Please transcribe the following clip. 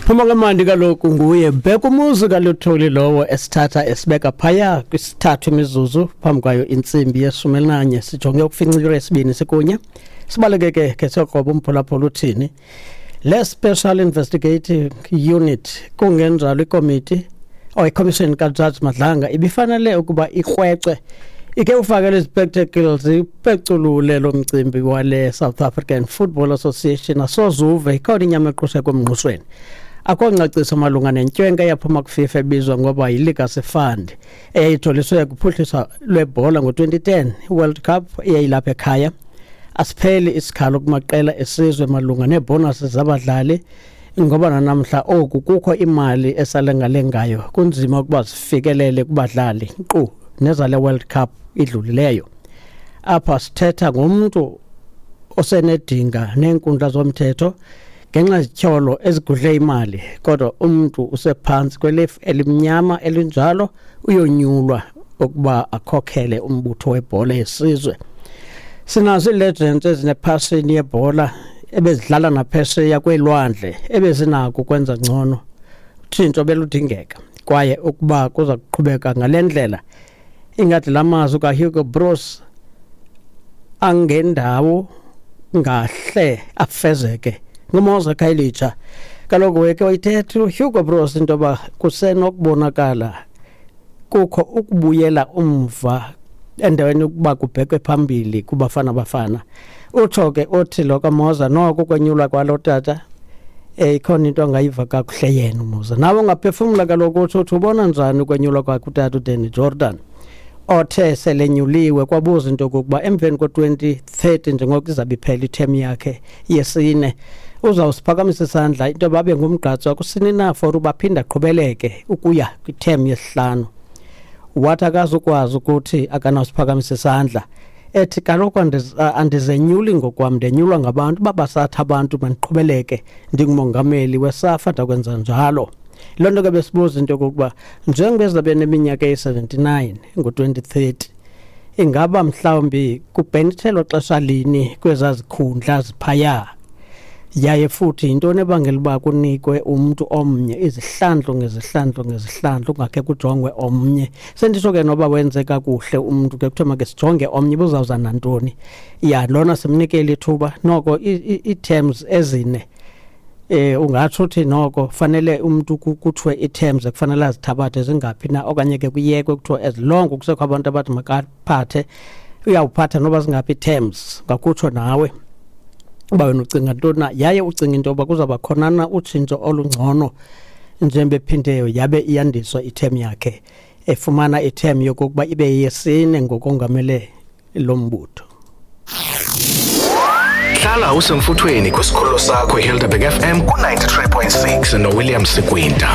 Phuma kamandi kaloku nguye Bhekumuzi kaLuthuli lowo esithatha esibeka phaya kwisithathu imizuzu phambi kwayo intsimbi yeshumi elinanye. Sijonge ukufinca iyure yesibini sikunye. Sibaleke ke ke siyokroba umphulaphula uthini le Special Investigating Unit, kungenjalo ikomiti or iCommission kaJudge Madlanga ibifanele ukuba ikrwece ike ufakele izipectacles ipeculule lo mcimbi wale South African Football Association. Asozuve ikhona inyama equshe komngqushweni. Akho ngcaciso malunga nentywenka eyaphuma kuFIFA ebizwa ngoba yiLegacy Fund eyayijoliswe kuphuhliso lwebhola ngo-2010 World Cup eyayilapha ekhaya. Asipheli isikhalo kumaqela esizwe malunga neebhonasi zabadlali, ngoba nanamhla oku kukho imali esalengalengayo, kunzima ukuba zifikelele kubadlali, nkqu nezale World Cup idlulileyo. Apha sithetha ngomntu osenedinga neenkundla zomthetho ngenxa yezityholo ezigudle imali, kodwa umntu usephantsi kwelifu elimnyama elinjalo uyonyulwa ukuba akhokhele umbutho webhola yesizwe. Sinazo ii-legends ezinepassion yebhola ebezidlala naphesheya kweelwandle ebezinako ukwenza ngcono. Utshintsho beludingeka, kwaye ukuba kuza kuqhubeka ngale ndlela, ingathi la mazwi kaHugo Broos angendawo ngahle afezeke. NguMoza Khayelitsha kaloku weke wayithetha uHugo Broos into yoba kusenokubonakala kukho ukubuyela umva endaweni yokuba kubhekwe phambili kuBafana Bafana. Utsho ke othi lo kaMoza noko ukwenyulwa kwalo tata ikhona into angayiva kakuhle yena uMoza. Nawe ungaphefumla kaloku, utsho uthi ubona njani ukwenyulwa kwakhe utata uDanny Jordaan othe selenyuliwe, kwabuza into yokokuba emveni ko-2030, njengoko izabe iphela ithemu yakhe yesine, uzawusiphakamisa isandla into yoba abe ngumgqatswa kusini na for uba aphinde aqhubeleke ukuya kwithemu yesihlanu. Wathi akazukwazi ukuthi akanawusiphakamisa isandla, ethi kaloku andizenyuli ngokwam, ndenyulwa ngabantu. Uba basathi abantu mandiqhubeleke ndingumongameli weSAFA, ndakwenza njalo. Loo nto ke besibuza into yokokuba njengoba ezabe neminyaka eyi-79 ngo-2030, ingaba mhlawumbi kubhenithelwa xesha lini kwezaa zikhundla ziphaya, yaye futhi yintoni ebangela uba kunikwe umntu omnye izihlandlo ngezihlandlo ngezihlandlo, kungakhe kujongwe omnye? Senditsho ke noba wenze kakuhle umntu ke kuthiwe make sijonge omnye, buzawuza nantoni? Ya, lona simnikele ithuba noko ii-terms ezine. Ungatsho uthi noko fanele umuntu kuthiwe ii-terms ekufanele azithabathe zingaphi na, okanye ke kuyekwe kuthiwe as long kusekho abantu abathi makaphathe, uyawuphatha noba zingaphi ii-terms? Ngakutsho nawe uba wena ucinga ntoni na, yaye ucinga into yoba kuzawuba khona na utshintsho olungcono njengoba ephindeyo yabe iyandiswa ithemu yakhe, efumana ithemu yokokuba ibe yesine ngokongamele lo mbutho? Hlala usemfuthweni kwisikhululo sakho iHelderberg FM ku-93.6 noWilliam Sikwinta.